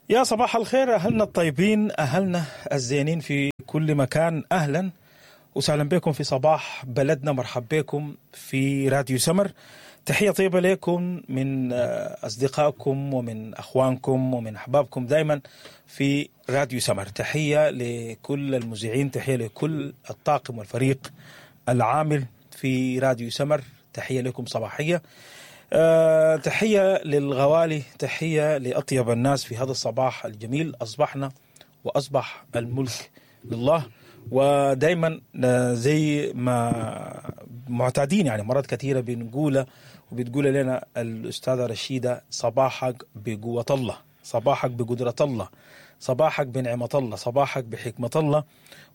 يا صباح الخير أهلنا الطيبين، أهلنا الزينين في كل مكان. أهلا وسهلا بكم في صباح بلدنا. مرحب بكم في راديو سمر. تحية طيبة لكم من أصدقائكم ومن أخوانكم ومن أحبابكم دايما في راديو سمر. تحية لكل المذيعين، تحية لكل الطاقم والفريق العامل في راديو سمر. تحية لكم صباحية، تحية للغوالي، تحية لأطيب الناس في هذا الصباح الجميل. أصبحنا وأصبح الملك لله. ودايما زي ما معتادين، يعني مرات كثيرة بنقولها وبتقول لنا الأستاذة رشيدة: صباحك بقوة الله، صباحك بقدرة الله، صباحك بنعمة الله، صباحك بحكمة الله،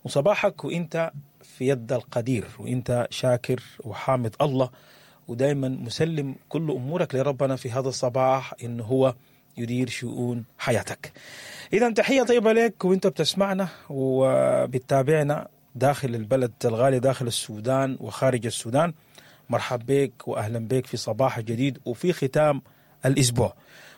وصباحك وإنت في يد القدير، وإنت شاكر وحامد الله، ودايما مسلم كل أمورك لربنا في هذا الصباح إنه هو يدير شؤون حياتك. إذا تحية طيبة لك وإنت بتسمعنا وبتتابعنا داخل البلد الغالي، داخل السودان وخارج السودان. مرحب بك وأهلا بك في صباح جديد وفي ختام الأسبوع.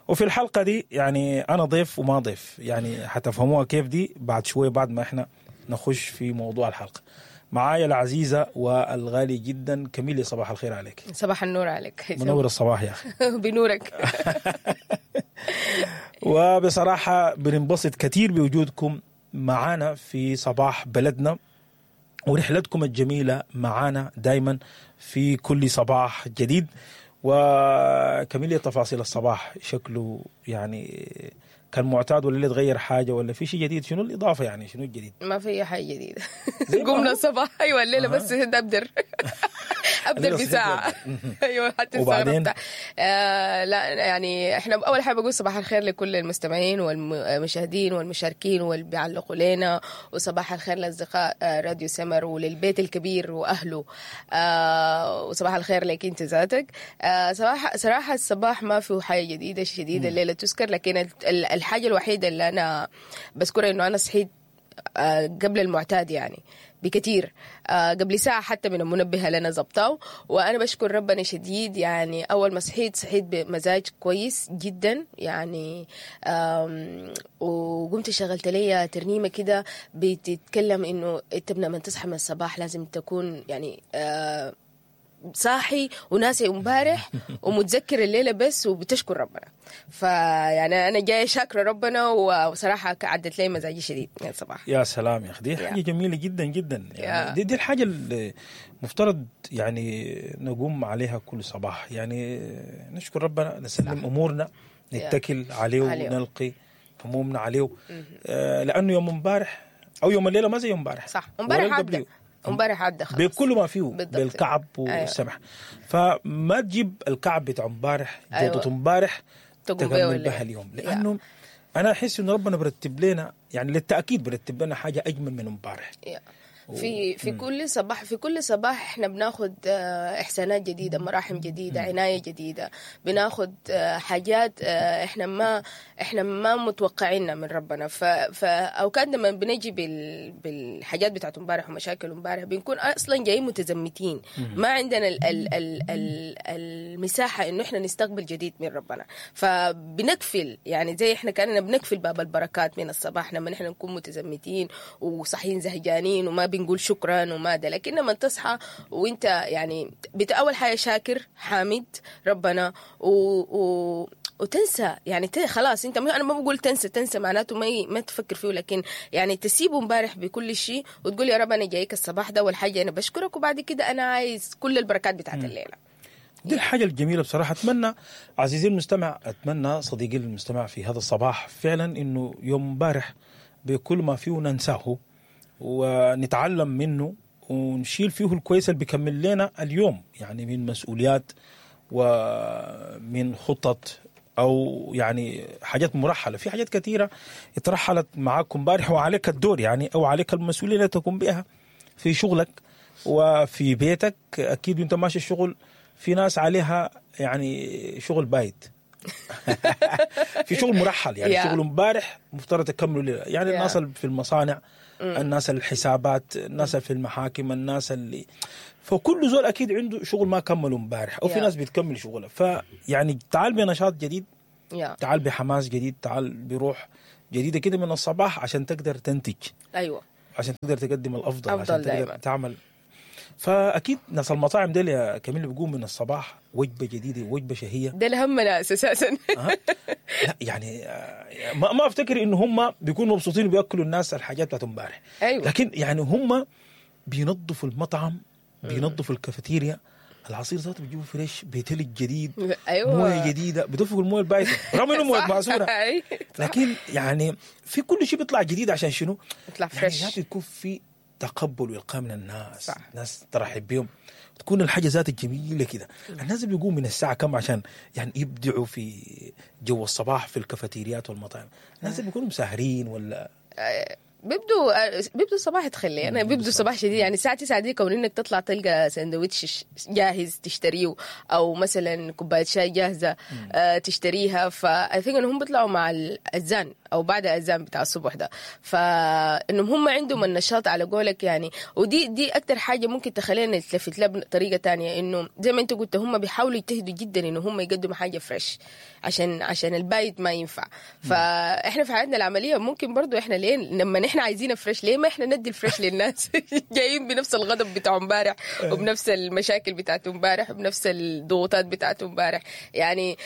وفي الحلقة دي يعني أنا ضيف وما ضيف، يعني حتفهموها كيف دي بعد شوية، بعد ما إحنا نخش في موضوع الحلقة. معايا العزيزة والغالي جدا كميلي، صباح الخير عليك. صباح النور عليك. منور الصباح يا أخي. بنورك. وبصراحة بننبسط كثير بوجودكم معانا في صباح بلدنا ورحلتكم الجميلة معانا دايما في كل صباح جديد. وكميليا، تفاصيل الصباح شكله يعني كان معتاد ولا اللي تغير حاجة ولا في شيء جديد؟ شنو الإضافة يعني، شنو الجديد؟ ما في حاجة جديدة. قمنا الصباح، أيوة الليلة بس أبدر أبدر بساعة. أيوة حتى وبعدين لا يعني إحنا أول حاجة بقول صباح الخير لكل المستمعين والمشاهدين والمشاركين واللي بيعلقوا لنا، وصباح الخير لأصدقاء راديو سمر وللبيت الكبير وأهله، وصباح الخير لك أنت ذاتك. صراحة الصباح ما فيه حاجة جديدة شديدة الليلة تذكر، لكن الحاجة الوحيدة اللي أنا بذكرها إنه أنا صحيت قبل المعتاد يعني بكثير، قبل ساعة حتى من المنبه اللي أنا زبطاه، وأنا بشكر ربنا شديد. يعني أول ما صحيت بمزاج كويس جدا يعني، وقمت شغلت لي ترنيمة كده بتتكلم إنه أنت لما تصحى من الصباح لازم تكون يعني صاحي وناسي امبارح ومتذكر الليلة بس وبتشكر ربنا. فيعني انا جاية شاكرة ربنا، وصراحة عدت لي مزاجي شديد من الصباح. يا سلام يا اخي، دي حاجة جميلة جدا جدا يعني. دي الحاجة اللي مفترض يعني نقوم عليها كل صباح، يعني نشكر ربنا، نسلم امورنا، نتكل عليه ونلقي همومنا عليه، لانه يوم امبارح او يوم الليلة ما زي يوم امبارح. صح، امبارح عدى، امبارح عدى خلاص بكل ما فيه، بالكعب والسمح. فما تجيب الكعب بتاع امبارح، جوده امبارح تكمل بها اليوم، لانه انا احس انه ربنا برتب لنا يعني للتاكيد برتب لنا حاجة اجمل من امبارح. في كل صباح، في كل صباح احنا بناخد احسانات جديدة، مراحم جديدة، عناية جديدة، بناخد حاجات احنا ما متوقعينها من ربنا. فاوقات لما بنجي بالحاجات بتاعت امبارح ومشاكل امبارح بنكون اصلا جايين متزمتين، ما عندنا ال ال ال ال المساحة انه احنا نستقبل جديد من ربنا. فبنقفل يعني زي احنا كاننا بنقفل باب البركات من الصباح لما احنا نكون متزمتين وصحيين زهجانين وما بنقول شكرا وما ده. لكن لما تصحى وانت يعني اول حاجة شاكر حامد ربنا وتنسى يعني خلاص انت، انا ما بقول تنسى معناته ما تفكر فيه، لكن يعني تسيبه امبارح بكل شيء وتقول يا رب انا جايك الصباح ده والحاجة انا بشكرك، وبعد كده انا عايز كل البركات بتاعت الليلة. دي الحاجة الجميلة بصراحة. اتمنى عزيزي المستمع، اتمنى صديقي المستمع في هذا الصباح فعلا انه يوم امبارح بكل ما فيه ننساه ونتعلم منه ونشيل فيه الكويس اللي بيكمل لنا اليوم، يعني من مسؤوليات ومن خطط او يعني حاجات مرحلة. في حاجات كثيرة اترحلت معاكم امبارح وعليك الدور يعني، او عليك المسؤولية اللي تقوم بها في شغلك وفي بيتك. اكيد وانت ماشي الشغل في ناس عليها يعني شغل بايت في شغل مرحل يعني شغل امبارح مفترض تكملوا ليلة يعني. الناس في المصانع، الناس الحسابات، الناس في المحاكم، الناس اللي فكل زول اكيد عنده شغل ما كملوا امبارح، او في ناس بتكمل شغلها. فيعني تعال بنشاط جديد، يا تعال بحماس جديد، تعال بروح جديدة كده من الصباح عشان تقدر تنتج، ايوه عشان تقدر تقدم الافضل، أفضل عشان تقدر دايماً. تعمل. فاكيد ناس المطاعم ديل يا كميل بيقوم من الصباح وجبة جديدة، وجبة شهية. ده الهم ناس اساسا. أه؟ لا يعني ما افتكر انه هم بيكونوا مبسوطين وبياكلوا الناس الحاجات بتاعت امبارح. ايوه. لكن يعني هم بينظفوا المطعم، بينظفوا الكافيتيريا، العصير ذاته بيجيبوا fresh بتلج جديد، ايوه، مويه جديدة، بدفقوا المويه البايته رغم انه مويه صح. معصوره، أي. لكن يعني في كل شيء بيطلع جديد عشان شنو؟ يطلع يعني fresh. ذاته يكون في تقبل والقاء من الناس. صح. الناس ترحب بهم، تكون الحاجة ذات جميلة كده. الناس بيقوموا من الساعة كم عشان يعني يبدعوا في جو الصباح في الكافيتيريات والمطاعم؟ الناس بيكونوا مساهرين ولا؟ بيبدو الصباح، تخلي انا بيبدو الصباح شديد، يعني الساعة 9 دي كون انك تطلع تلقى سندوتش جاهز تشتريه او مثلا كوباية شاي جاهزة تشتريها. ف I think انهم بيطلعوا مع الاذان او بعد الاذان بتاع الصبح ده، فانهم هم عندهم النشاط على قولك يعني. ودي اكتر حاجة ممكن تخلينا نتلفت لها بطريقة تانية، انه زي ما انت قلت هم بيحاولوا يجتهدوا جدا انه هم يقدموا حاجة fresh عشان البايت ما ينفع. فاحنا في حياتنا العملية ممكن برضو احنا ليه لما نحن عايزين fresh، ليه ما احنا ندي ال fresh للناس؟ جايين بنفس الغضب بتاع امبارح وبنفس المشاكل بتاعت امبارح وبنفس الضغوطات بتاعت امبارح. يعني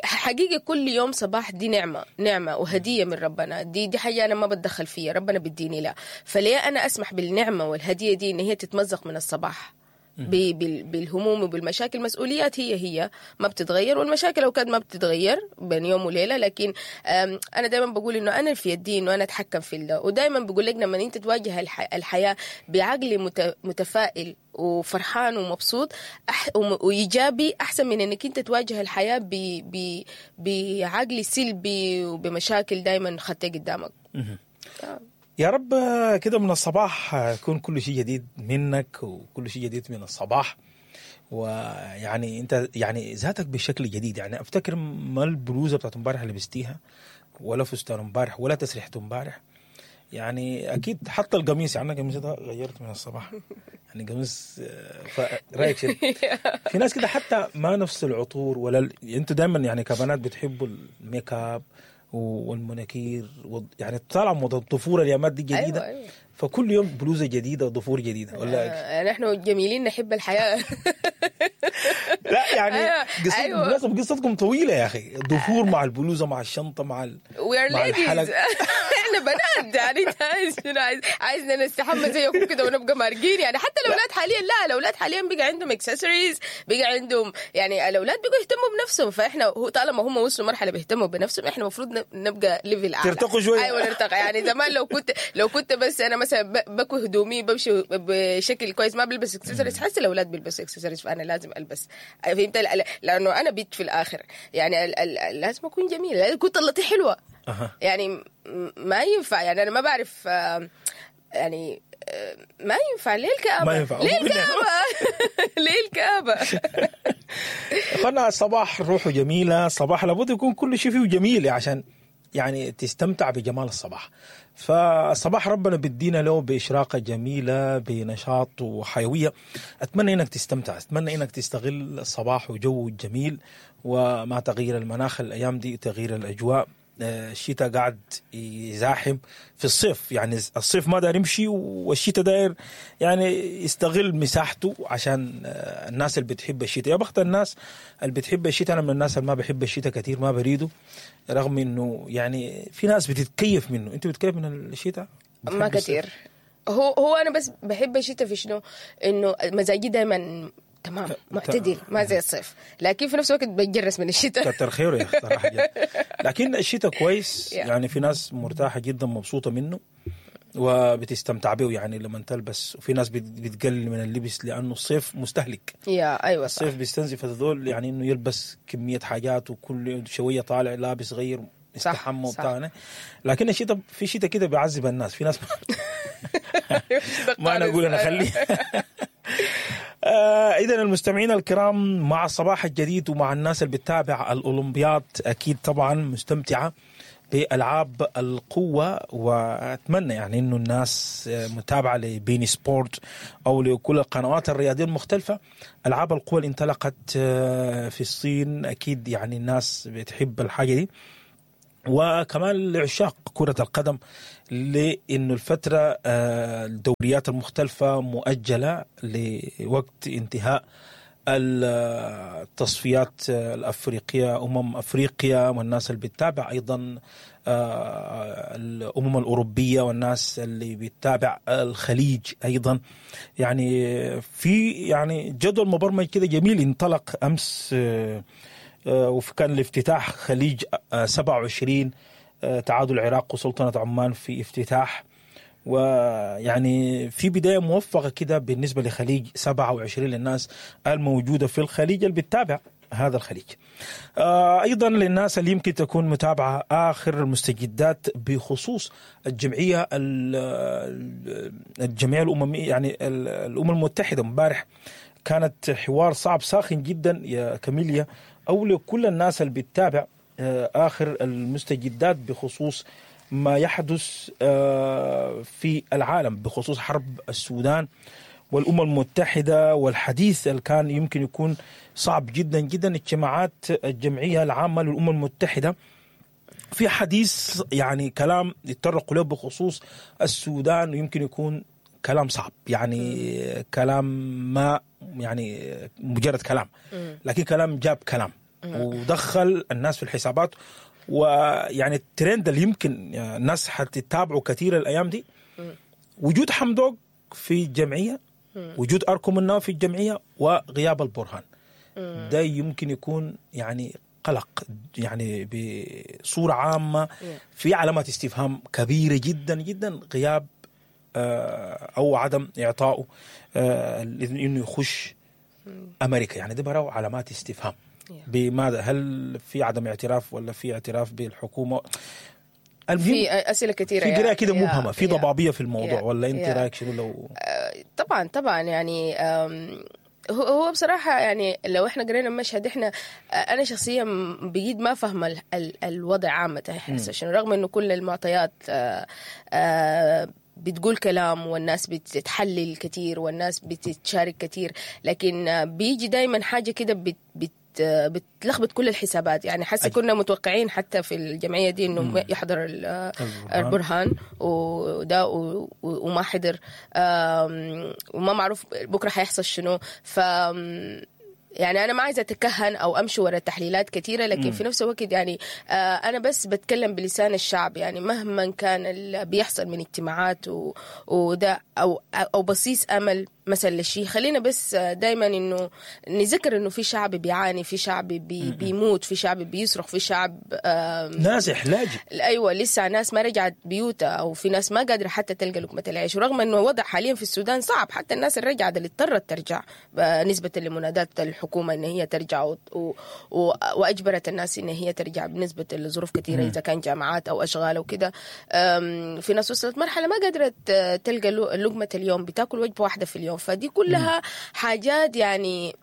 حقيقة كل يوم صباح دي نعمه، نعمه وهديه من ربنا. دي حاجة انا ما بتدخل فيها، ربنا بيديني لا، فليه انا اسمح بالنعمة والهديه دي ان هي تتمزق من الصباح بالهموم وبالمشاكل؟ مسؤوليات هي ما بتتغير، والمشاكل اوقات ما بتتغير بين يوم وليله. لكن انا دائما بقول انه انا في يدي انه انا اتحكم في ده. ودائما بقول لك لما انت تواجه الحياة بعقل متفائل وفرحان ومبسوط وايجابي، احسن من انك انت تواجه الحياة بعقل سلبي وبمشاكل دائما خطيه قدامك. يا رب كده من الصباح يكون كل شيء جديد منك وكل شيء جديد من الصباح، ويعني انت يعني ذاتك بشكل جديد. يعني افتكر ما البلوزة بتاعت امبارح اللي لبستيها، ولا فستان امبارح، ولا تسريحه امبارح، يعني اكيد حتى القميص. يعني انا قميصي ده غيرت من الصباح، يعني قميص رايك شنو؟ في ناس كده حتى ما نفس العطور ولا انتوا دايما يعني كبنات بتحبوا ال make up والمناكير يعني طالعه موضة الضفور الايامات دي جديدة. أيوة. فكل يوم بلوزة جديدة وضفور جديدة ولا؟ نحن جميلين نحب الحياة. لا يعني قصتكم، أيوة. بالمناسبة قصتكم طويلة يا اخي، الضفور مع البلوزة مع الشنطة مع We are مع ladies. الحلق. احنا بنات يعني، انت عايز شنو؟ عايزنا نستحمى زيكم كده ونبقى مارقين يعني؟ حتى الاولاد حاليا، لا الاولاد حاليا بقى عندهم اكسسوارز، بقى عندهم يعني الاولاد بقوا يهتموا بنفسهم. فاحنا هو طالما هم وصلوا مرحلة بيهتموا بنفسهم، احنا المفروض نبقى level اعلى، ترتقوا شوية. ايوه نرتقي. يعني زمان لو كنت بس انا مثلا بكوي هدومي بمشي بشكل كويس ما بلبس اكسسوارز، حاسه الاولاد بيلبسوا اكسسوارز فانا لازم البس، فهمت؟ لانه انا بنت في الاخر يعني لازم اكون جميلة، لازم اكون طلتي حلوة. يعني ما ينفع، يعني انا ما بعرف يعني ما ينفع. ليه الكآبة؟ ما ينفع. ليه الكآبة؟ ليه الكآبة؟ اخوانا الصباح روحه جميلة، الصباح لابد يكون كل شيء فيه جميل عشان يعني تستمتع بجمال الصباح. فالصباح ربنا بيدينا له بإشراقة جميلة، بنشاط وحيوية. أتمنى إنك تستمتع، أتمنى إنك تستغل الصباح وجو الجميل، ومع تغيير المناخ الأيام دي، تغيير الأجواء، الشتاء قاعد يزاحم في الصيف، يعني الصيف ما داير يمشي والشتاء داير يعني يستغل مساحته عشان الناس اللي بتحب الشتاء. يا بخت الناس اللي بتحب الشتاء، انا من الناس اللي ما بحب الشتاء كثير، ما بريدة، رغم انه يعني في ناس بتتكيف منه. انت بتكيف من الشتاء؟ ما بتحب الصيف؟ كثير. هو انا بس بحب الشتاء في شنو؟ انه مزاجي دائما تمام معتدل، ما زي الصيف، لكن في نفس الوقت بتجرس من الشتاء. كتر خيره يا اخي صراحة جد. لكن الشتاء كويس. يعني في ناس مرتاحة جدا، مبسوطة منه وبتستمتع به، يعني لما تلبس، وفي ناس بتقلل من اللبس لانه الصيف مستهلك. yeah ايوه صح. الصيف بيستنزف هذول، يعني انه يلبس كمية حاجات وكل شوية طالع لابس غير استحمى وبتاع. لكن الشتاء في شتاء كده بيعذب الناس، في ناس ما انا اقول انا خليه. اذا المستمعين الكرام، مع الصباح الجديد ومع الناس اللي بتتابع الاولمبياد، اكيد طبعا مستمتعه بالعاب القوة، واتمنى يعني انه الناس متابعه ل beIN Sport او لكل القنوات الرياضية المختلفة. العاب القوة اللي انطلقت في الصين، اكيد يعني الناس بتحب الحاجة دي، وكمان لعشاق كرة القدم، لأنه الفترة الدوريات المختلفة مؤجلة لوقت انتهاء التصفيات الأفريقية، أفريقيا، والناس اللي بتتابع أيضا الأمم الأوروبية، والناس اللي بتتابع الخليج أيضا. يعني في يعني جدول مبرمج كده جميل انطلق أمس، وكان الافتتاح خليج 27، تعادل العراق وسلطنة عمان في افتتاح، ويعني في بداية موفقة كده بالنسبة لخليج 27 للناس الموجودة في الخليج اللي بتتابع هذا الخليج. أيضا للناس اللي يمكن تكون متابعة آخر المستجدات بخصوص الجمعية الأممية، يعني الأمم المتحدة، امبارح كانت حوار صعب ساخن جدا يا كاميليا، أو لكل الناس اللي بتتابع آخر المستجدات بخصوص ما يحدث في العالم بخصوص حرب السودان والأمم المتحدة، والحديث اللي كان يمكن يكون صعب جدا جدا. اجتماعات الجمعية العامة للأمم المتحدة في حديث يعني كلام يتطرقوا له بخصوص السودان، ويمكن يكون كلام صعب، يعني كلام ما يعني مجرد كلام، لكن كلام جاب كلام ودخل الناس في الحسابات. ويعني الترند اللي يمكن الناس حتتابعه كثير الايام دي، وجود حمدوك في الجمعية، وجود اركو مناوي في الجمعية، وغياب البرهان، ده يمكن يكون يعني قلق، يعني بصورة عامة في علامات استفهام كبيرة جدا جدا، غياب او عدم اعطائه الاذن انه يخش امريكا، يعني ده براو علامات استفهام. بماذا؟ هل في عدم اعتراف ولا في اعتراف بالحكومة؟ المهم في اسئلة كثيرة، في قراءة كده مبهمة، في ضبابية في الموضوع، ولا انت رايك شنو؟ لو طبعا طبعا يعني هو بصراحة يعني لو احنا قرينا المشهد، احنا انا شخصيا بقيت ما فاهمه الوضع عامة عشان رغم انه كل المعطيات بتقول كلام والناس بتتحلل كثير والناس بتتشارك كثير، لكن بيجي دايما حاجة كده بت بت بتلخبط كل الحسابات. يعني حاسه كنا متوقعين حتى في الجمعية دي انه يحضر البرهان وده وما حضر، وما معروف بكره حيحصل شنو. ف يعني أنا ما عايزة أتكهن أو أمشي ورا تحليلات كثيرة، لكن في نفس الوقت يعني أنا بس بتكلم بلسان الشعب. يعني مهما كان اللي بيحصل من اجتماعات وده أو بصيص أمل مثلا للشيء، خلينا بس دايما إنه نذكر إنه في شعب بيعاني، في شعب بيموت، في شعب بيصرخ، في شعب نازح لاجئ، أيوة لسه ناس ما رجعت بيوتها، أو في ناس ما قادرة حتى تلقى لقمة العيش، ورغم إنه وضع حاليا في السودان صعب، حتى الناس اللي رجعت اللي اضطرت ترجع نسبة لمنادات الحكومة إن هي ترجع وأجبرت الناس إن هي ترجع بنسبة لظروف كثيرة، إذا كان جامعات أو أشغال وكده. في ناس وصلت مرحلة ما قادرة تلقى لقمة اليوم، بتاكل وجبة واحدة في اليوم. فدي كلها حاجات يعني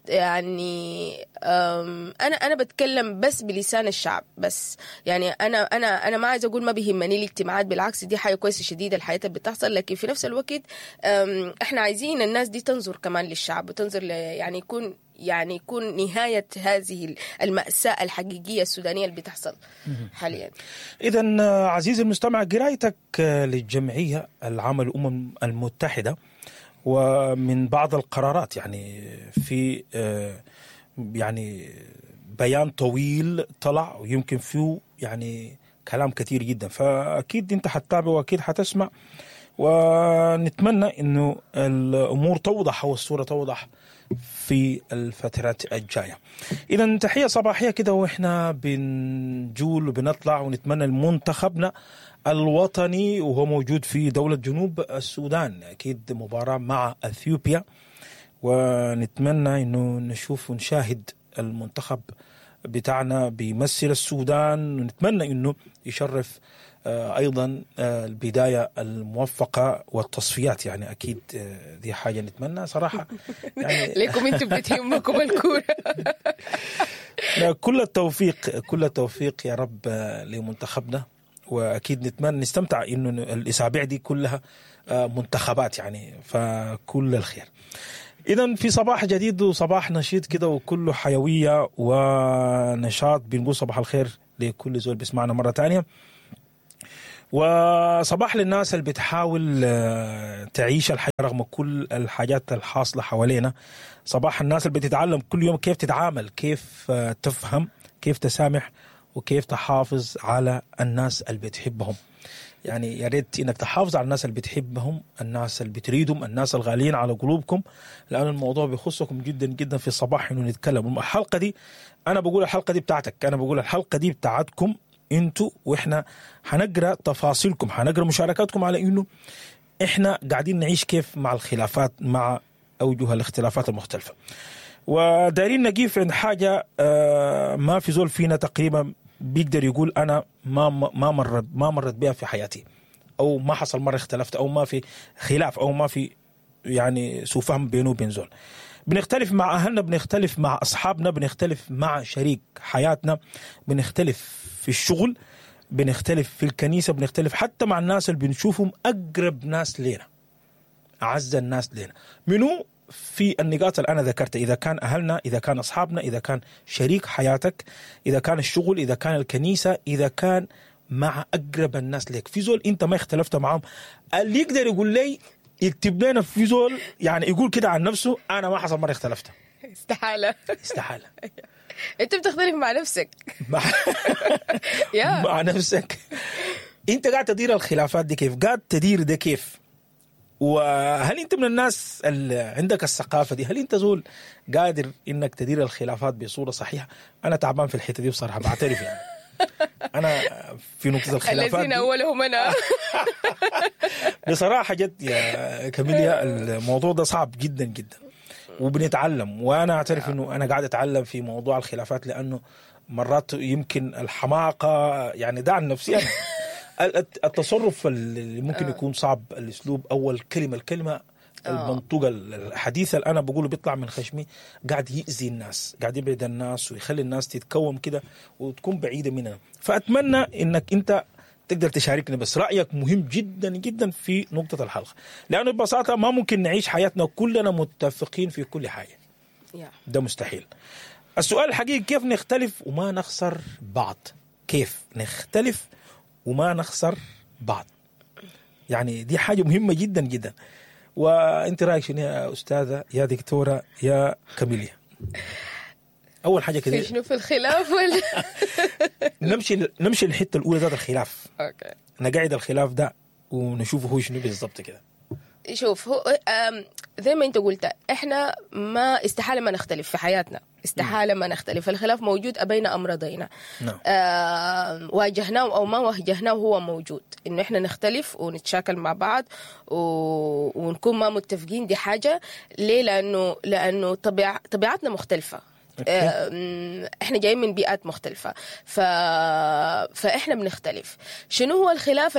انا بتكلم بس بلسان الشعب بس. يعني انا انا انا ما عايزه اقول ما بيهمني الاجتماعات، بالعكس دي حاجة كويسة شديدة الحياة اللي بتحصل، لكن في نفس الوقت احنا عايزين الناس دي تنظر كمان للشعب، وتنظر يعني يكون نهاية هذه المأساة الحقيقية السودانية اللي بتحصل حاليا. إذا عزيزي المستمع، قرايتك للجمعية العامة للأمم المتحدة ومن بعض القرارات، يعني في يعني بيان طويل طلع ويمكن فيه يعني كلام كثير جدا، فأكيد أنت حتتابع وأكيد حتسمع، ونتمنى أنه الأمور توضح والصورة توضح في الفترات الجاية. إذا تحية صباحية كده وإحنا بنجول وبنطلع، ونتمنى لمنتخبنا الوطني وهو موجود في دولة جنوب السودان أكيد مباراة مع أثيوبيا، ونتمنى أنه نشوف ونشاهد المنتخب بتاعنا بيمثل السودان، ونتمنى انه يشرف ايضا البداية الموفقه والتصفيات. يعني اكيد دي حاجة نتمنى صراحة يعني. ليكم انتم بتهمكم الكورة. كل التوفيق، كل التوفيق يا رب لمنتخبنا، واكيد نتمنى نستمتع انه الاسابيع دي كلها منتخبات يعني، فكل الخير. اذا في صباح جديد وصباح نشيط كده وكله حيوية ونشاط، بنقول صباح الخير لكل زول بيسمعنا مرة ثانية، وصباح للناس اللي بتحاول تعيش الحياة رغم كل الحاجات الحاصلة حوالينا. صباح الناس اللي بتتعلم كل يوم كيف تتعامل، كيف تفهم، كيف تسامح، وكيف تحافظ على الناس اللي بتحبهم. يعني يا ريت انك تحافظ على الناس اللي بتحبهم، الناس اللي بتريدهم، الناس الغاليين على قلوبكم، لأن الموضوع بيخصكم جدا جدا. في الصباح انه نتكلم الحلقة دي، انا بقول الحلقة دي بتاعتك، انا بقول الحلقة دي بتاعتكم انتوا، واحنا حنقرا تفاصيلكم، حنقرا مشاركاتكم على انه احنا قاعدين نعيش كيف مع الخلافات، مع اوجه الاختلافات المختلفة. ودايرين نقيف عند حاجة ما في زول فينا تقريبا بيقدر يقول انا ما مرت بها في حياتي، او ما حصل مرة اختلفت، او ما في خلاف، او ما في يعني سوء فهم بينه وبين زول. بنختلف مع اهلنا، بنختلف مع اصحابنا، بنختلف مع شريك حياتنا، بنختلف في الشغل، بنختلف في الكنيسة، بنختلف حتى مع الناس اللي بنشوفهم اقرب ناس لنا، اعز الناس لنا. منو في النقاط اللي انا ذكرتها؟ اذا كان اهلنا، اذا كان اصحابنا، اذا كان شريك حياتك، اذا كان الشغل، اذا كان الكنيسة، اذا كان مع اقرب الناس لك. في زول انت ما اختلفت معهم اللي يقدر يقول لي، يكتب لنا في زول يعني يقول كده عن نفسه انا ما حصل مرة اختلفت؟ استحالة. استحالة. انت بتختلف مع نفسك. مع نفسك. انت قاعد تدير الخلافات دي كيف؟ قاعد تدير ده كيف؟ وهل انت من الناس اللي عندك الثقافة دي؟ هل انت زول قادر انك تدير الخلافات بصورة صحيحه؟ انا تعبان في الحتة دي بصراحة، بعترف يعني. انا في نقطة الخلافات الذين اولهم انا. بصراحة جد يا كاميليا الموضوع ده صعب جدا جدا، وبنتعلم، وانا اعترف انه انا قاعد اتعلم في موضوع الخلافات، لانه مرات يمكن الحماقة يعني ده عن نفسي انا، التصرف اللي ممكن يكون صعب، الاسلوب، اول كلمة، الكلمة المنطوقه الحديثة اللي انا بقوله بيطلع من خشمي قاعد يأذي الناس، قاعد يبعد الناس ويخلي الناس تتكوم كده وتكون بعيدة مننا. فاتمنى انك انت تقدر تشاركني، بس رايك مهم جدا جدا في نقطة الحلقة، لانه ببساطة ما ممكن نعيش حياتنا كلنا متفقين في كل حاجة، ده مستحيل. السؤال الحقيقي كيف نختلف وما نخسر بعض؟ كيف نختلف وما نخسر بعض؟ يعني دي حاجة مهمة جدا جدا. وانت رايك شنو يا استاذه، يا دكتورة، يا كاميليا؟ اول حاجة كده شنو في الخلاف ولا نمشي للحتة الاولى ذات الخلاف. okay، نقعد الخلاف ده ونشوفه هو شنو بالضبط كده. شوف، هو زي ما انت قلت، احنا ما استحالة ما نختلف في حياتنا، استحالة ما نختلف. الخلاف موجود ابينا ام رضينا. نعم. واجهناه او ما واجهناه هو موجود، انه احنا نختلف ونتشاكل مع بعض ونكون ما متفقين. دي حاجة ليه؟ لانه طبيعتنا مختلفة. احنا جايين من بيئات مختلفة، فاحنا بنختلف. شنو هو الخلاف؟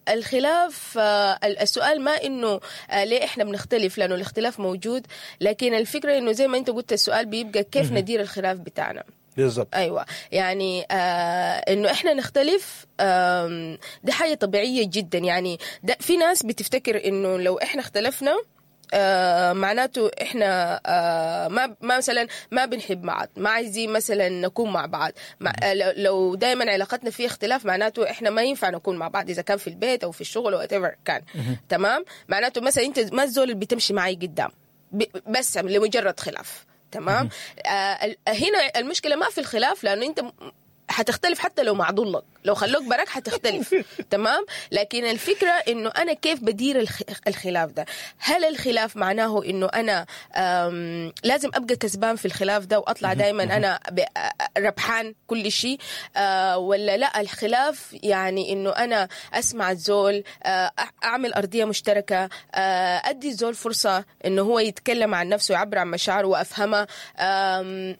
الخلاف السؤال ما انه ليه احنا بنختلف، لانه الاختلاف موجود، لكن الفكرة انه زي ما انت قلت السؤال بيبقى كيف ندير الخلاف بتاعنا بالضبط. ايوه، يعني انه احنا نختلف، دي حاجة طبيعية جدا. يعني ده في ناس بتفتكر انه لو احنا اختلفنا معناته احنا ما مثلا ما بنحب بعض، ما عايزين مثلا نكون مع بعض، لو دائما علاقتنا فيها اختلاف معناته احنا ما ينفع نكون مع بعض، اذا كان في البيت او في الشغل او whatever كان. تمام، معناته مثلا انت ما الزول اللي بتمشي معي قدام بس لمجرد خلاف. تمام. هنا المشكلة ما في الخلاف، لانه انت حتختلف حتى لو مع ضلك، لو خلوك براك حتختلف. تمام. لكن الفكرة انه انا كيف بدير الخلاف ده؟ هل الخلاف معناه انه انا لازم ابقى كسبان في الخلاف ده واطلع دائما انا ربحان كل شيء، ولا لا؟ الخلاف يعني انه انا اسمع الزول، اعمل ارضية مشتركة، ادي الزول فرصة انه هو يتكلم عن نفسه ويعبر عن مشاعره وافهمها،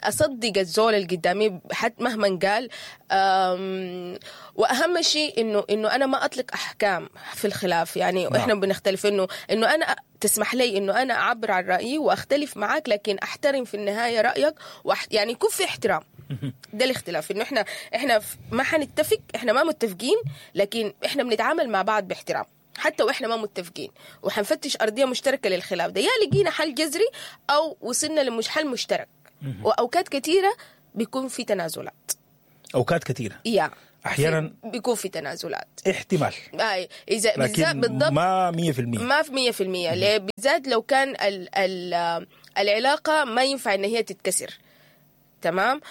اصدق الزول اللي قدامي حتى مهما قال. واهم شيء انه انا ما اطلق احكام في الخلاف. يعني نعم. احنا بنختلف انه انا تسمح لي انه انا اعبر عن رايي واختلف معاك، لكن احترم في النهاية رايك، يعني يكون في احترام. ده الاختلاف، انه احنا ما حنتفق، احنا ما متفقين، لكن احنا بنتعامل مع بعض باحترام حتى واحنا ما متفقين، وحنفتش ارضية مشتركة للخلاف ده، يا لقينا حل جذري او وصلنا لحل مشترك. واوقات كثيرة بيكون في تنازلات، اوقات كثيرة يا احيانا بيكون في تنازلات، احتمال اي اذا بالذات بالضبط ما 100%، ما في 100%. ليه؟ بالذات لو كان ال ال العلاقة ما ينفع ان هي تتكسر. تمام.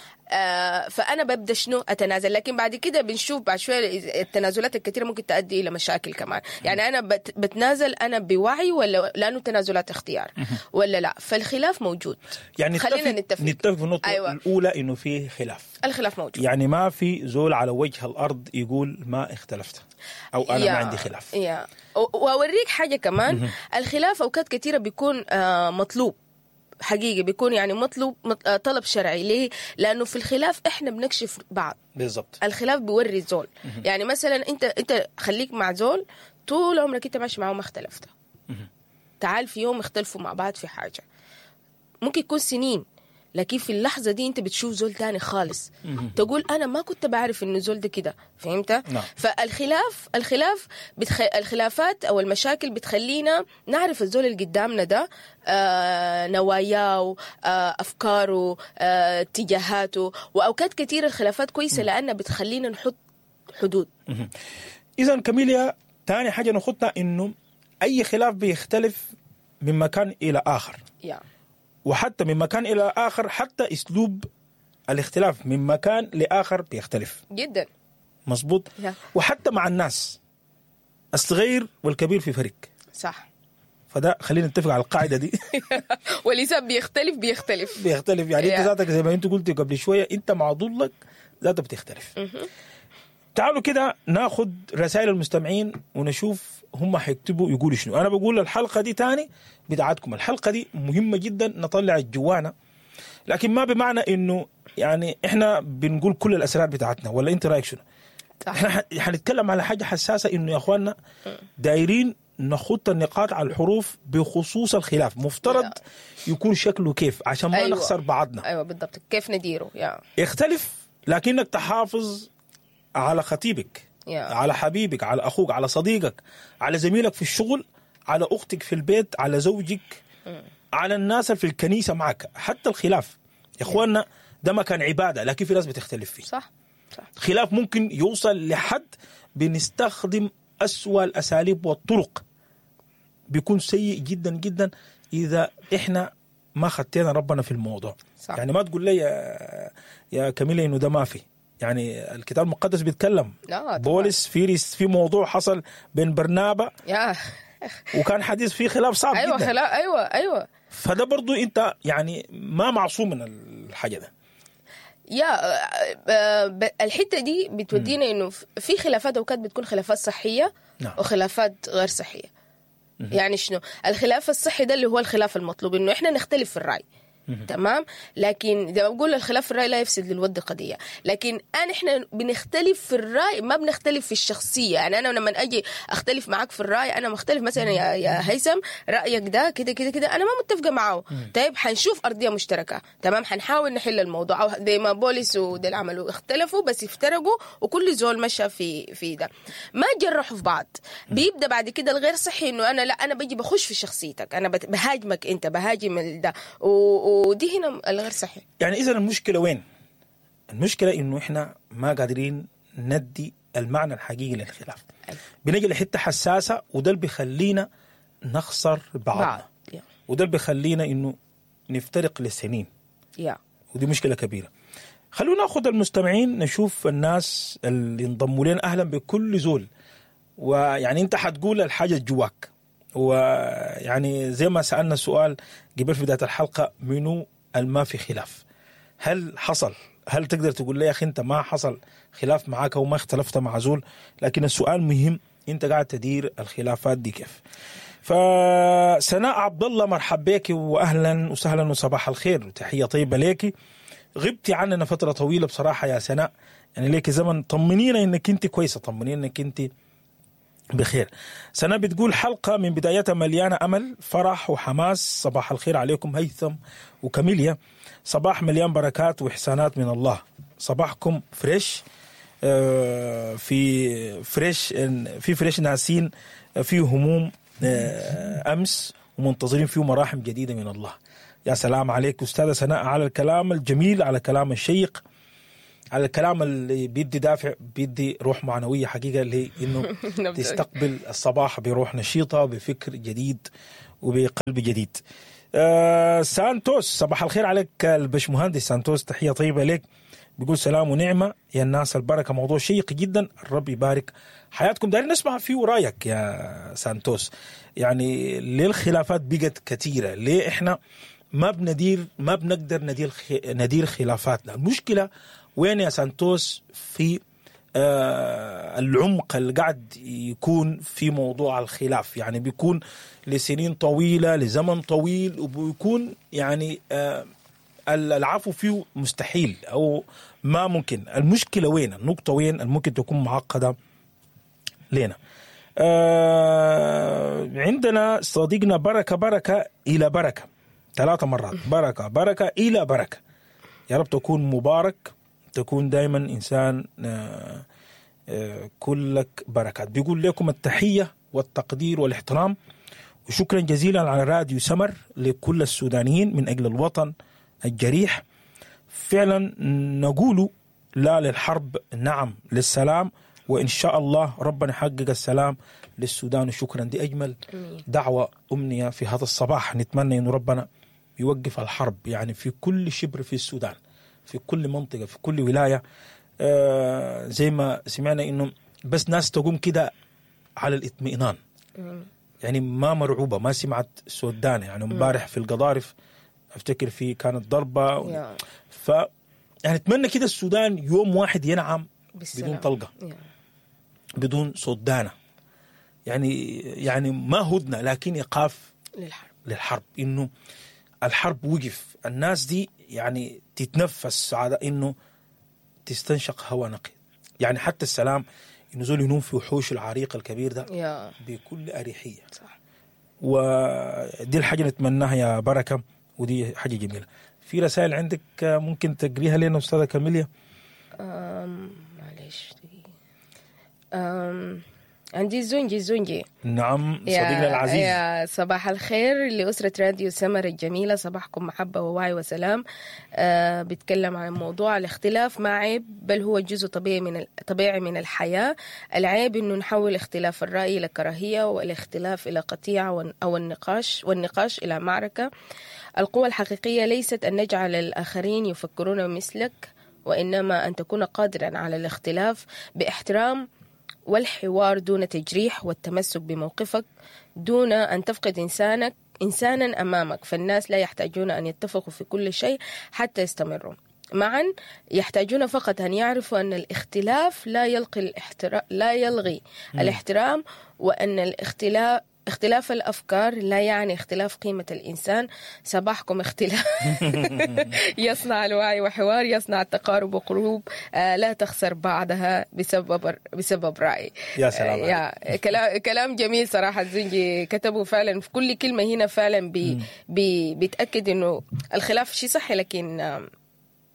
فانا ببدا شنو؟ اتنازل. لكن بعد كده بنشوف بعد شوية التنازلات الكثيرة ممكن تؤدي الى مشاكل كمان. يعني انا بتنازل انا بوعي ولا لانه تنازلات اختيار ولا لا؟ فالخلاف موجود. يعني خلينا نتفق في النقطة. أيوة. الاولى انه في خلاف، الخلاف موجود، يعني ما في زول على وجه الارض يقول ما اختلفت او انا ما عندي خلاف. يا واوريك حاجة كمان، الخلاف اوقات كثيرة بيكون مطلوب حقيقي، بيكون يعني مطلوب طلب شرعي. ليه؟ لأنه في الخلاف إحنا بنكشف بعض. بالضبط. الخلاف بيوري الزول. يعني مثلا أنت خليك مع زول طول عمرك أنت ماشي معه ما اختلفت. تعال في يوم اختلفوا مع بعض في حاجة، ممكن يكون سنين، لكن في اللحظة دي أنت بتشوف زول تاني خالص. تقول أنا ما كنت بعرف إنه زول ده كده. فهمت؟ نعم. فالخلاف الخلاف الخلافات أو المشاكل بتخلينا نعرف الزول اللي قدامنا ده، نواياه، أفكاره، اتجاهاته. وأوقات كثيرة الخلافات كويسة لأنها بتخلينا نحط حدود. إذا كاميليا، تاني حاجة نخطها إنه أي خلاف بيختلف من مكان إلى آخر. وحتى من مكان إلى آخر، حتى أسلوب الاختلاف من مكان لآخر بيختلف جدا. مظبوط. وحتى مع الناس الصغير والكبير في فرق. صح. فده خلينا نتفق على القاعدة دي. والإنسان بيختلف يعني. أنت ذاتك زي ما أنت قلت قبل شوية، أنت مع ضلك ذاتك بتختلف. تعالوا كده ناخد رسائل المستمعين ونشوف هم حيكتبوا يقولوا شنو. أنا بقول الحلقة دي تاني بتاعتكم، الحلقة دي مهمة جدا نطلع الجوانا، لكن ما بمعنى إنه يعني إحنا بنقول كل الأسرار بتاعتنا، ولا أنت رأيك شنو؟ إحنا حنتكلم على حاجة حساسة، إنه يا أخواننا دايرين نخط النقاط على الحروف بخصوص الخلاف، مفترض يكون شكله كيف عشان ما نخسر بعضنا. أيوة بالضبط، كيف نديره. اختلف لكنك تحافظ على خطيبك، على حبيبك، على أخوك، على صديقك، على زميلك في الشغل، على أختك في البيت، على زوجك، على الناس في الكنيسة معك. حتى الخلاف يا إخواننا ده ما كان عبادة، لكن في ناس بتختلف فيه. صح. خلاف ممكن يوصل لحد بنستخدم أسوأ الأساليب والطرق، بيكون سيء جدا جدا إذا إحنا ما خدتنا ربنا في الموضوع. صح. يعني ما تقول لي يا كميلة إنه ده ما في، يعني الكتاب المقدس بيتكلم. بولس في موضوع حصل بين برنابا وكان حديث فيه خلاف صعب. أيوة جدا. خلاف. أيوة. فده برضو أنت يعني ما معصوم من الحاجة ده. يا الحتة دي بتودينا إنه في خلافات أوقات بتكون خلافات صحية. نعم. وخلافات غير صحية. يعني شنو الخلاف الصحي ده؟ اللي هو الخلاف المطلوب، إنه إحنا نختلف في الرأي. تمام. لكن زي ما بقول الخلاف في الرأي لا يفسد للود قضية، لكن احنا بنختلف في الرأي ما بنختلف في الشخصية. يعني انا لما اجي اختلف معاك في الرأي، انا مختلف مثلا يا هيثم رأيك ده كده كده كده، انا ما متفقة معه. طيب حنشوف أرضية مشتركة. تمام، حنحاول نحل الموضوع. او زي ما بولس وده عملوا، اختلفوا بس افترقوا وكل زول مشى في ده، ما جرحوا في بعض. بيبدأ بعد كده الغير صحي، انه انا لا، انا بجي بخش في شخصيتك، انا بهاجمك، انت بهاجم ده، ودي هنا الغير صحي. يعني إذا المشكلة وين؟ المشكلة إنه إحنا ما قادرين ندي المعنى الحقيقي للخلاف. بنجي لحتة حساسة، وده اللي بيخلينا نخسر بعضنا. وده اللي بيخلينا إنه نفترق لسنين. ودي مشكلة كبيرة. خلونا ناخذ المستمعين، نشوف الناس اللي انضموا لنا. اهلا بكل زول، ويعني انت حتقول الحاجة جواك، ويعني زي ما سالنا سؤال قبل في بداية الحلقة، منو الما في خلاف؟ هل حصل؟ هل تقدر تقول لي يا اخي انت ما حصل خلاف معاك وما اختلفت مع زول؟ لكن السؤال مهم، انت قاعد تدير الخلافات دي كيف؟ فسناء عبد الله مرحب بك واهلا وسهلا وصباح الخير وتحية طيبة لك. غبتي عننا فترة طويلة بصراحة يا سناء، يعني ليك زمن. طمنينا انك انت كويسة، طمنينا انك انت بخير. سناء بتقول حلقة من بدايتها مليانة امل، فرح وحماس. صباح الخير عليكم هيثم وكاميليا، صباح مليان بركات واحسانات من الله. صباحكم fresh، في fresh، في fresh ناسين في هموم امس ومنتظرين فيه مراحم جديدة من الله. يا سلام عليك استاذه سناء على الكلام الجميل، على الكلام الشيق، على الكلام اللي بيدي دافع، بيدي روح معنوية حقيقة لانه تستقبل الصباح بروح نشيطه، بفكر جديد وبقلب جديد. سانتوس صباح الخير عليك البشمهندس سانتوس، تحية طيبة لك. بيقول سلام ونعمه يا الناس البركة، موضوع شيق جدا، الرب يبارك حياتكم. دايرين نسمع فيه رايك يا سانتوس، يعني ليه الخلافات بقت كثيرة؟ ليه احنا ما بندير، ما بنقدر ندير خلافاتنا؟ المشكلة وين يا سانتوس؟ في العمق اللي قاعد يكون في موضوع الخلاف، يعني بيكون لسنين طويلة، لزمن طويل، وبيكون يعني العفو فيه مستحيل أو ما ممكن. المشكلة وين؟ النقطة وين الممكن تكون معقدة لنا؟ عندنا صديقنا بركة، بركة إلى بركة، 3 مرات، بركة بركة إلى بركة. يا رب تكون مبارك، تكون دايما إنسان كلك بركات. بيقول لكم التحية والتقدير والاحترام، وشكرا جزيلا على راديو سمر لكل السودانيين من أجل الوطن الجريح. فعلا نقول لا للحرب، نعم للسلام، وإن شاء الله ربنا يحقق السلام للسودان. وشكرا، دي أجمل دعوة أمنية في هذا الصباح. نتمنى أن ربنا يوقف الحرب يعني في كل شبر في السودان، في كل منطقة، في كل ولاية. زي ما سمعنا إنه بس ناس تقوم كده على الاطمئنان، يعني ما مرعوبة، ما سمعت سودانة. يعني امبارح في القضارف افتكر في كانت ضربة ف يعني اتمنى كده السودان يوم واحد ينعم بالسلام، بدون طلقة، بدون صوت دانة، يعني ما هدنة لكن إيقاف للحرب، إنه الحرب وقف، الناس دي يعني تتنفس على إنه تستنشق هواء نقي. يعني حتى السلام إنه زول ينوم في وحوش العريق الكبير ده بكل أريحية. صح. ودي الحاجة نتمناها يا بركة، ودي حاجة جميلة. في رسائل عندك ممكن تقريها لنا أستاذة كاميليا؟ معلش عندي زنجي. نعم صديقنا العزيز. يا صباح الخير لأسرة راديو سمر الجميلة، صباحكم محبة ووعي وسلام. بيتكلم عن موضوع الاختلاف ما عيب، بل هو جزء طبيعي من الحياة. العيب إنه نحول اختلاف الرأي إلى كراهية، والاختلاف إلى قطيعة، أو والنقاش إلى معركة. القوة الحقيقية ليست أن نجعل الآخرين يفكرون مثلك، وإنما أن تكون قادرا على الاختلاف باحترام والحوار دون تجريح، والتمسك بموقفك دون أن تفقد إنسانا أمامك. فالناس لا يحتاجون أن يتفقوا في كل شيء حتى يستمروا معا، يحتاجون فقط أن يعرفوا أن الاختلاف لا يلغي الاحترام، وأن اختلاف الأفكار لا يعني اختلاف قيمة الإنسان. صباحكم اختلاف يصنع الوعي، وحوار يصنع التقارب، وقلوب لا تخسر بعضها بسبب رأي. يا سلام. يا كلام جميل صراحة الزنجي كتبه فعلا. في كل كلمة هنا فعلا بيتأكد إنه الخلاف شيء صحي، لكن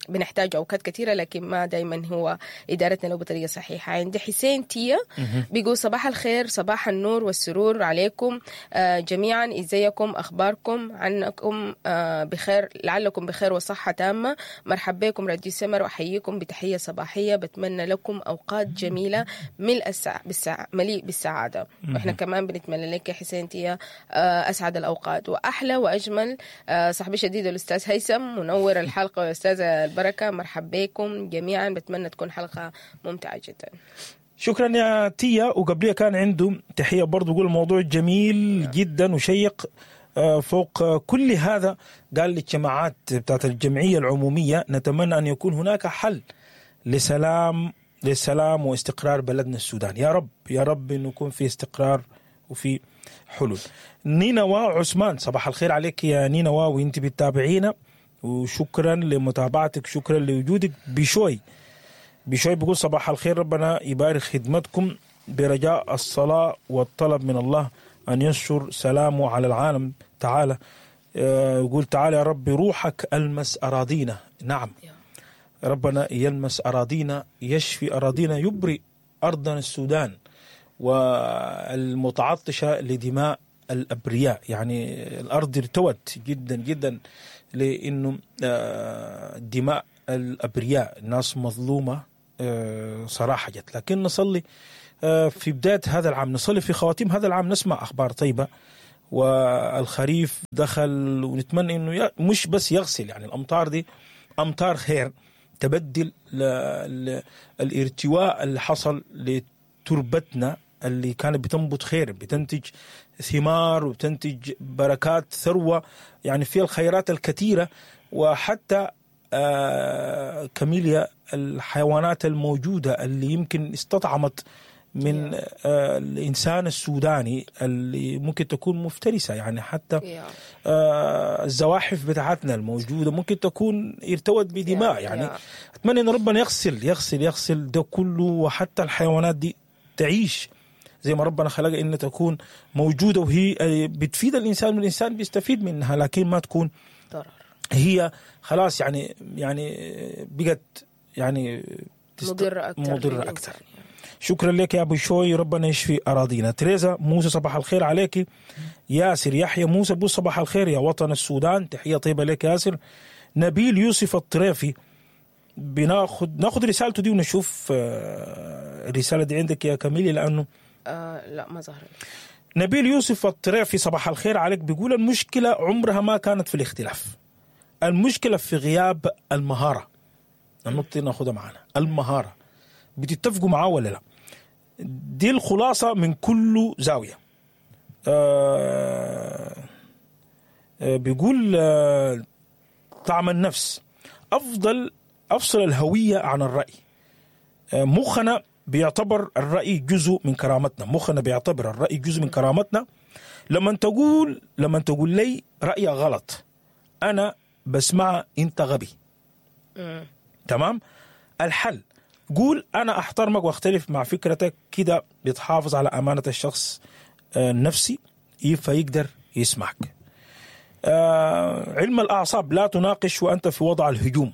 بنحتاج أوقات كثيرة، لكن ما دايما هو إدارتنا له بطريقة صحيحة. عند حسين تيا بيقول صباح الخير، صباح النور والسرور عليكم جميعا، إزيكم، أخباركم، عنكم بخير، لعلكم بخير وصحة تامة. مرحب بكم راديو سمر، وأحييكم بتحية صباحية، بتمنى لكم أوقات جميلة مليء بالسعادة. وإحنا كمان بنتمنى لك يا حسين تيا أسعد الأوقات وأحلى وأجمل. صاحبي شديد الأستاذ هيثم منور الحلقة، والأستاذ البركة. مرحب بكم جميعا، بتمنى تكون حلقة ممتعة جدا. شكرا يا تيا. وقبليها كان عنده تحية برضو، يقول الموضوع جميل جدا وشيق. فوق كل هذا قال الاجتماعات بتاعت الجمعية العمومية نتمنى أن يكون هناك حل للسلام واستقرار بلدنا السودان. يا رب يا رب أنه يكون في استقرار وفي حلول. نينوى عثمان، صباح الخير عليك يا نينوى وانت بتتابعينا، وشكرا لمتابعتك، شكرا لوجودك. بشوي بيقول صباح الخير، ربنا يبارك خدمتكم، برجاء الصلاة والطلب من الله أن ينشر سلامه على العالم تعالى. يقول تعالى يا رب روحك ألمس أراضينا. نعم، ربنا يلمس أراضينا، يشفي أراضينا، يبرئ أرضنا السودان والمتعطشة لدماء الأبرياء. يعني الأرض ارتوت جدا جدا لأنه دماء الأبرياء، ناس مظلومة صراحة جت. لكن نصلي في بداية هذا العام، نصلي في خواتيم هذا العام، نسمع أخبار طيبة والخريف دخل، ونتمنى أنه مش بس يغسل، يعني الأمطار دي أمطار خير تبدل الارتواء اللي حصل لتربتنا اللي كانت بتنبت خير، بتنتج ثمار وبتنتج بركات، ثروة، يعني فيها الخيرات الكثيرة. وحتى كاميليا الحيوانات الموجودة اللي يمكن استطعمت من الإنسان السوداني اللي ممكن تكون مفترسة، يعني حتى الزواحف بتاعتنا الموجودة ممكن تكون ارتوت بدماء. يعني أتمنى أن ربنا يغسل يغسل يغسل ده كله، وحتى الحيوانات دي تعيش زي ما ربنا خلقها إن تكون موجودة، وهي بتفيد الإنسان والإنسان بيستفيد منها، لكن ما تكون ضرر. هي خلاص يعني بقت يعني مضرة أكثر. شكرا لك يا أبو شوي، ربنا يشفي أراضينا. تريزا موسى صباح الخير عليك. ياسر يحيى موسى بو صباح الخير يا وطن السودان، تحية طيبة لك ياسر. نبيل يوسف الطريفي، بناخد رسالته دي ونشوف الرسالة دي عندك يا كميلي لأنه لا ما ظهر. نبيل يوسف الطريفي صباح الخير عليك، بيقول المشكلة عمرها ما كانت في الاختلاف، المشكلة في غياب المهارة. النقطة ناخدها معنا، المهارة، بتتفقوا معاه ولا لا؟ دي الخلاصة من كل زاوية. بيقول طعم النفس أفضل، أفصل الهوية عن الرأي. مخنا بيعتبر الرأي جزء من كرامتنا، مخنا بيعتبر الرأي جزء من كرامتنا. لما تقول لي رأي غلط أنا بسمع أنت غبي. تمام؟ الحل قول أنا أحترمك واختلف مع فكرتك، كده بتحافظ على أمانة الشخص النفسي فيقدر يسمعك. علم الأعصاب، لا تناقش وأنت في وضع الهجوم،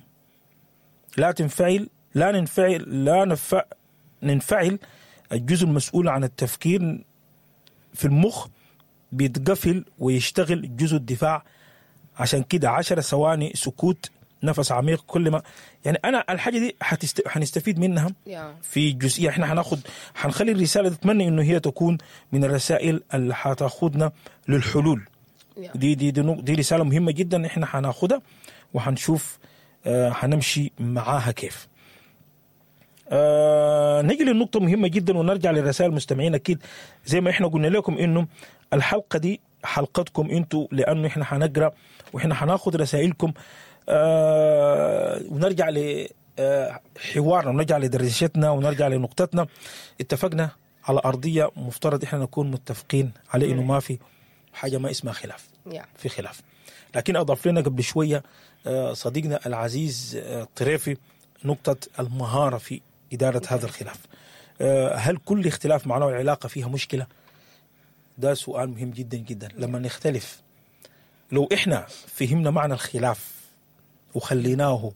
لا تنفعل، لا ننفعل، لا ننفعل. الجزء المسؤول عن التفكير في المخ بيتقفل ويشتغل جزء الدفاع، عشان كده 10 ثواني سكوت، نفس عميق كل ما يعني أنا الحاجة دي حنستفيد منها في جزئية. إحنا حنخلي الرسالة، تتمنى إنه هي تكون من الرسائل اللي حتاخدنا للحلول. دي دي دي, دي رسالة مهمة جدا، إحنا حناخدها وحنشوف حنمشي معاها كيف. نجي للنقطة مهمة جدا ونرجع للرسائل المستمعين. أكيد زي ما إحنا قلنا لكم إنه الحلقة دي حلقتكم إنتوا، لأنه إحنا حنقرأ وإحنا حناخد رسائلكم، ونرجع لحوارنا ونرجع لدردشتنا ونرجع لنقطتنا. اتفقنا على أرضية مفترض إحنا نكون متفقين على إنه ما في حاجة ما اسمها خلاف، في خلاف. لكن أضاف لنا قبل شوية صديقنا العزيز الطريفي نقطة المهارة في إدارة هذا الخلاف. هل كل اختلاف معناه العلاقة فيها مشكلة؟ ده سؤال مهم جدا جدا. لما نختلف، لو إحنا فهمنا معنى الخلاف وخليناه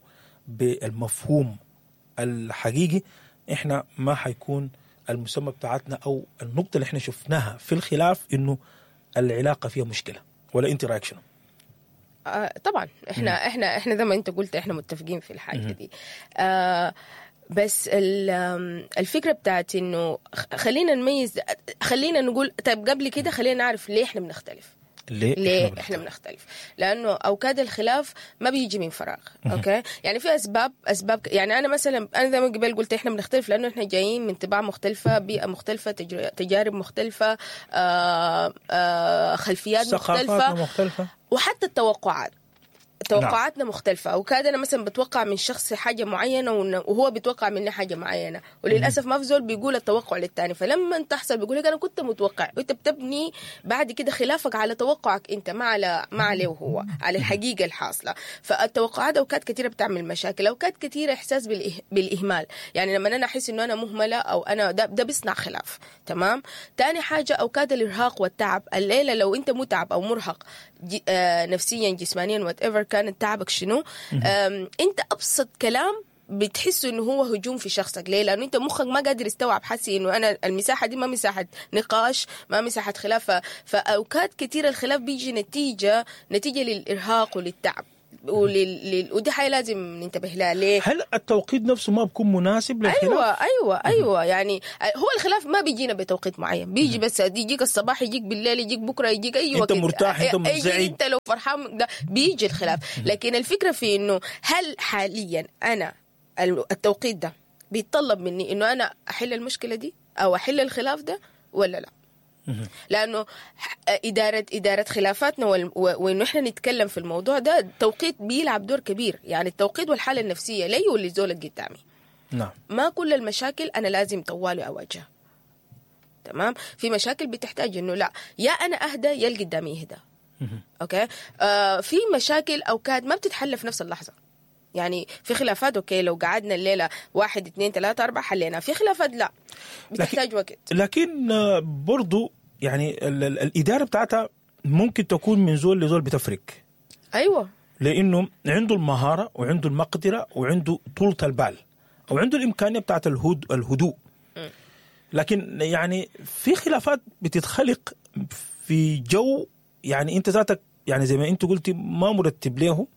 بالمفهوم الحقيقي، إحنا ما حيكون المسمى بتاعتنا أو النقطة اللي إحنا شفناها في الخلاف إنه العلاقة فيها مشكلة. ولا أنت رأيك شنو؟ طبعا احنا زي ما انت قلت احنا متفقين في الحاجة دي. بس الفكرة بتاعت انه خلينا نميز، خلينا نقول طيب قبل كده خلينا نعرف ليه احنا بنختلف. ليه, ليه احنا بنختلف؟ لانه اوقات الخلاف ما بيجي من فراغ. okay، يعني في اسباب. يعني انا مثلا، انا زي ما قبل قلت احنا بنختلف لانه احنا جايين من طباع مختلفة، بيئة مختلفة، تجارب مختلفة، خلفيات مختلفة، مختلفة، وحتى التوقعات توقعاتنا مختلفة. وكاد أنا مثلا بتوقع من شخص حاجة معينة وهو بيتوقع مني حاجة معينة، وللأسف ما في زول بيقول التوقع للتاني. فلما تحصل بيقول لك أنا كنت متوقع، وأنت بتبني بعد كده خلافك على توقعك أنت، ما عليه هو، على الحقيقة الحاصلة. فالتوقعات أوقات كثيرة بتعمل مشاكل، أوقات كثيرة إحساس بالإهمال. يعني لما أنا أحس إنه أنا مهملة أو أنا ده بيصنع خلاف. تمام. تاني حاجة أوقات الإرهاق والتعب. الليلة لو أنت متعب أو مرهق نفسيا جسمانيا whatever كان تعبك شنو، انت ابسط كلام بتحس انه هو هجوم في شخصك. ليه؟ لانه انت مخك ما قادر يستوعب، حاسس انه انا المساحة دي ما مساحة نقاش، ما مساحة خلاف. فاوقات كثيرة الخلاف بيجي نتيجة للارهاق وللتعب ودي حاجة لازم ننتبه لها. ليه؟ هل التوقيت نفسه ما بيكون مناسب للخلاف؟ ايوه يعني هو الخلاف ما بيجينا بتوقيت معين، بيجي بس يجيك الصباح، يجيك بالليل، يجيك بكره، يجيك اي وقت. انت مرتاح، انت منزعج، انت لو فرحان ده بيجي الخلاف. لكن الفكرة في انه هل حاليا انا التوقيت ده بيتطلب مني انه انا احل المشكلة دي او احل الخلاف ده ولا لا؟ لانه ادارة خلافاتنا وانه احنا نتكلم في الموضوع ده، التوقيت بيلعب دور كبير. يعني التوقيت والحالة النفسية لي وللزول اللي قدامي. نعم. ما كل المشاكل انا لازم طوالي اواجهها. تمام. في مشاكل بتحتاج انه لا، يا انا اهدى يا اللي قدامي يهدى. okay. في مشاكل اوقات ما بتتحل في نفس اللحظة. يعني في خلافات okay لو قعدنا الليلة 1 2 3 4 حلينا، في خلافات لا بتحتاج وقت. لكن برضو يعني الإدارة بتاعتها ممكن تكون من زول لزول بتفرق. أيوة، لأنه عنده المهارة وعنده المقدرة وعنده طولة البال أو عنده الإمكانية بتاعت الهدوء. لكن يعني في خلافات بتتخلق في جو يعني أنت ذاتك يعني زي ما أنت قلتي ما مرتب له،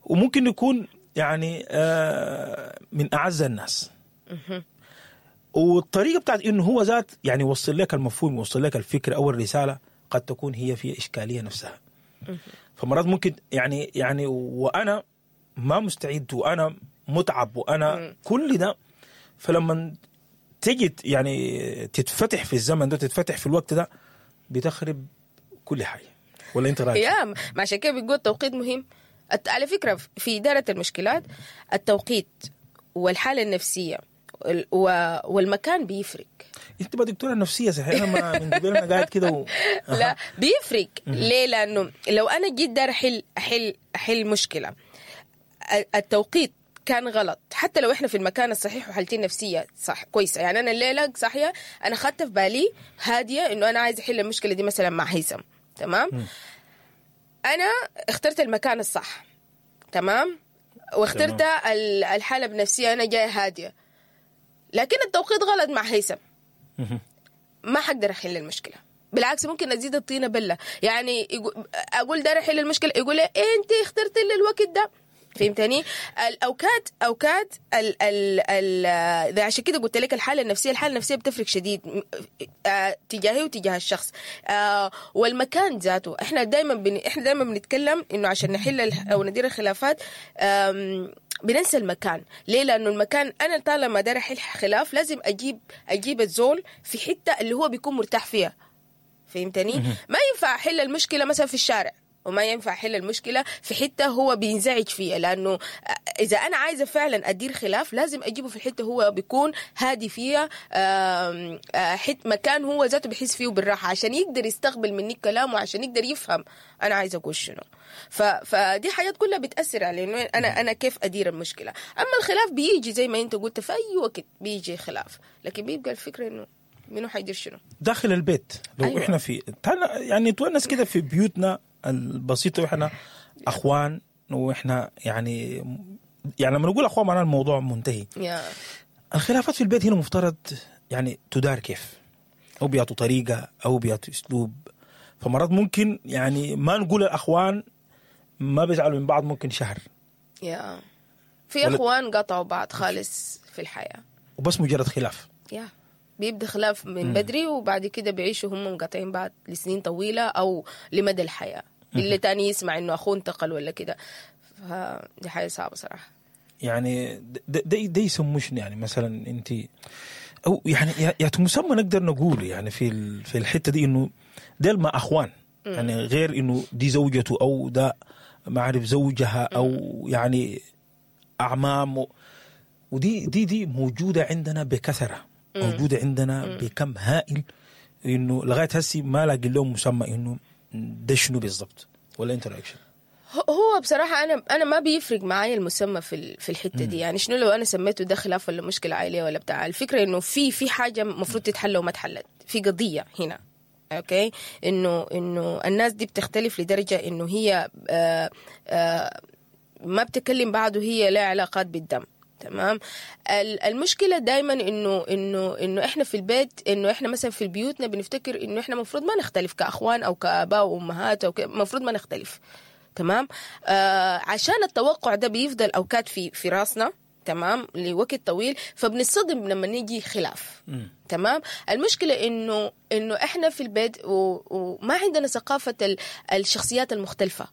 وممكن يكون يعني من أعز الناس. والطريقة بتاعت إنه هو ذات يعني يوصل لك المفهوم، يوصل لك الفكرة أو الرسالة، قد تكون هي في إشكالية نفسها. فمرات ممكن يعني وأنا ما مستعد وأنا متعب وأنا كل ده، فلما تجي يعني تتفتح في الزمن ده، تتفتح في الوقت ده، بتخرب كل حاجة. ولا أنت رأيك؟ يا ما عشان كده بيقول التوقيت مهم. على فكرة في إدارة المشكلات التوقيت والحالة النفسية والمكان بيفرق. انت بقى دكتورة نفسية صحيح؟ انا ما من قبل انا قاعد كده لا بيفرق. ليه؟ لأنه لو أنا جيت دار أحل مشكلة، التوقيت كان غلط، حتى لو احنا في المكان الصحيح وحالتي النفسية صح كويسة. يعني أنا الليلة صحية، أنا خدت في بالي هادية إنه أنا عايز أحل المشكلة دي مثلا مع هيثم. تمام. أنا اخترت المكان الصح، تمام، واخترت الحالة بنفسية، أنا جاية هادية، لكن التوقيت غلط مع هيثم، ما حقدر أحل المشكلة. بالعكس ممكن أزيد الطينة بلة. يعني أقول دار أحل المشكلة، يقول لي إيه أنت اخترت لي الوقت ده. فهمتني؟ الأوقات أوقات ال ال ال عشان كده قلت لك الحالة النفسية، الحالة النفسية بتفرق شديد تجاهي وتجاه الشخص، والمكان ذاته. احنا دايما بنتكلم انه عشان نحل او ندير الخلافات بننسى المكان. ليه؟ لانه المكان انا طالما داير احل خلاف لازم اجيب الزول في حتة اللي هو بيكون مرتاح فيها. فهمتني؟ ما ينفع احل المشكلة مثلا في الشارع، وما ينفع احل المشكلة في حتة هو بينزعج فيها، لانه اذا انا عايزه فعلا ادير خلاف لازم اجيبه في الحتة هو بيكون هادي فيها، مكان هو ذاته بيحس فيه بالراحة، عشان يقدر يستقبل مني كلامه، وعشان يقدر يفهم انا عايزه اقول شنو. فدي حاجات كلها بتاثر على انه انا كيف ادير المشكلة. اما الخلاف بيجي زي ما انت قلت في اي وقت بيجي خلاف، لكن بيبقى الفكرة انه منو حيدير شنو داخل البيت. لو أيوة. احنا في يعني نتونس كده في بيوتنا البسيطة، واحنا اخوان، واحنا يعني لما نقول اخوان معناه الموضوع منتهي. الخلافات في البيت هنا مفترض يعني تدار كيف، او بيعطوا طريقة او بيعطوا اسلوب. فمرات ممكن يعني ما نقول الاخوان ما بيزعلوا من بعض ممكن شهر. في اخوان قطعوا بعض خالص في الحياة، وبس مجرد خلاف. بيبدا خلاف من بدري، وبعد كده بيعيشوا هم مقاطعين بعض لسنين طويلة او لمدى الحياة، اللي تاني يسمع انه اخوه انتقل ولا كده. فدي حاجة صعبة صراحة. يعني ده يسموه شنو يعني؟ مثلا انت او يعني يا مسمى نقدر نقول يعني في الحتة دي انه ديل ما اخوان، يعني غير انه دي زوجته او ده ما اعرف زوجها او يعني اعمام، ودي دي دي موجودة عندنا بكثره، موجودة عندنا بكم هائل، انه لغاية هسي ما لاقي لهم مسمى انه ده شنو بالضبط. ولا انت رايك شنو؟ هو بصراحة أنا ما بيفرق معايا المسمى في الحتة دي. يعني شنو لو أنا سميته ده خلاف ولا مشكلة عائلية ولا بتاع؟ الفكرة إنه في حاجة المفروض تتحل وما اتحلت، في قضية هنا، okay، إنه الناس دي بتختلف لدرجة إنه هي ما بتكلم بعض وهي لها علاقات بالدم، تمام. المشكلة دائما انه احنا في البيت، انه احنا مثلا في بيوتنا بنفتكر انه احنا المفروض ما نختلف كاخوان او كاباء وامهات او المفروض ما نختلف، تمام. عشان التوقع ده بيفضل اوقات في راسنا، تمام، لوقت طويل، فبنصدم لما نيجي خلاف. تمام. المشكلة انه احنا في البيت وما عندنا ثقافة الشخصيات المختلفة.